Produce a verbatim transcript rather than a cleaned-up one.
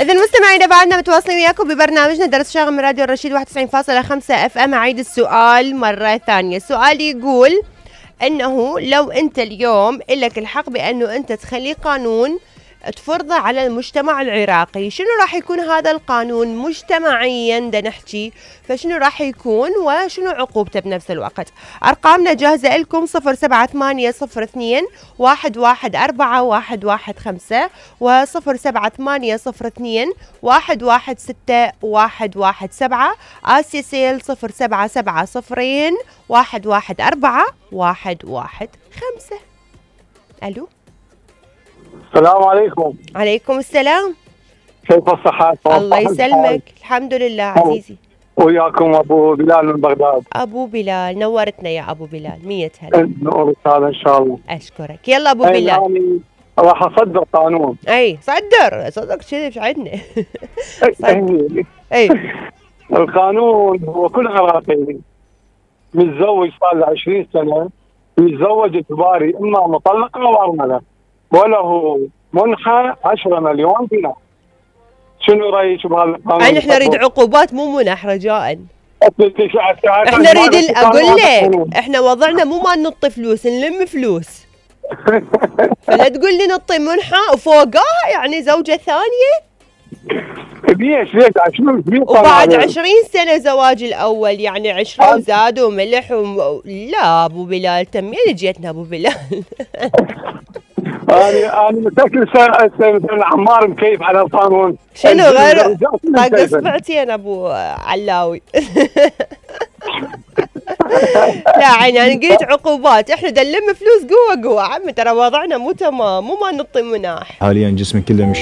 إذا مستمعينا بعدنا متواصلين وياكم ببرنامجنا درس شاغل من راديو الرشيد واحد وتسعين فاصلة خمسة اف ام. اعيد السؤال مرة ثانية. السؤال يقول انه لو انت اليوم إلك الحق بانه انت تخلي قانون تفرضه على المجتمع العراقي، شنو راح يكون هذا القانون مجتمعيا دا نحكي؟ فشنو راح يكون وشنو عقوبته بنفس الوقت؟ ارقامنا جاهزة لكم صفر سبعة ثمانية صفر اثنين واحد واحد أربعة واحد واحد خمسة وصفر سبعة ثمانية صفر اثنين واحد واحد ستة واحد واحد سبعة. آسيا سيل صفر سبعة سبعة صفرين واحد واحد أربعة واحد واحد خمسة. ألو السلام عليكم. عليكم السلام. كيف الصحة؟ الله يسلمك. الحمد لله عزيزي. وياكم أبو بلال من بغداد. أبو بلال نورتنا يا أبو بلال. مية هلا. نور هذا إن شاء الله. أشكرك. يلا أبو بلال. يعني راح أصدر قانون. أي صدر صدق كذي مش عندنا. أي القانون هو كل عراقي متزوج صار له عشرين سنة يتزوج اجباري إما مطلقة أو أرملة وله منحة عشرة مليون دينار. شنو رايك بهذا القانون؟ يعني احنا نريد عقوبات مو منح رجاء. احنا نريد اقول لك احنا وضعنا مو ما ننطي فلوس نلم فلوس. فلا تقول لي نطي منحة وفوقها يعني زوجة ثانية. ليش ليش عشرين وبعد عشرين سنة زواج الأول يعني عشرة وزاد وملح وم... لا أبو بلال تمين جيتنا أبو بلال. أنا أنا متأكد مثلا عمار مكيف على القانون. شنو غير طاق اصبعتين أبو علاوي. لا عيني أنا قلت عقوبات إحنا دلم فلوس قوة قوة عمي ترى وضعنا مو تمام مو ما نطي مناح. حاليا جسمي كله مش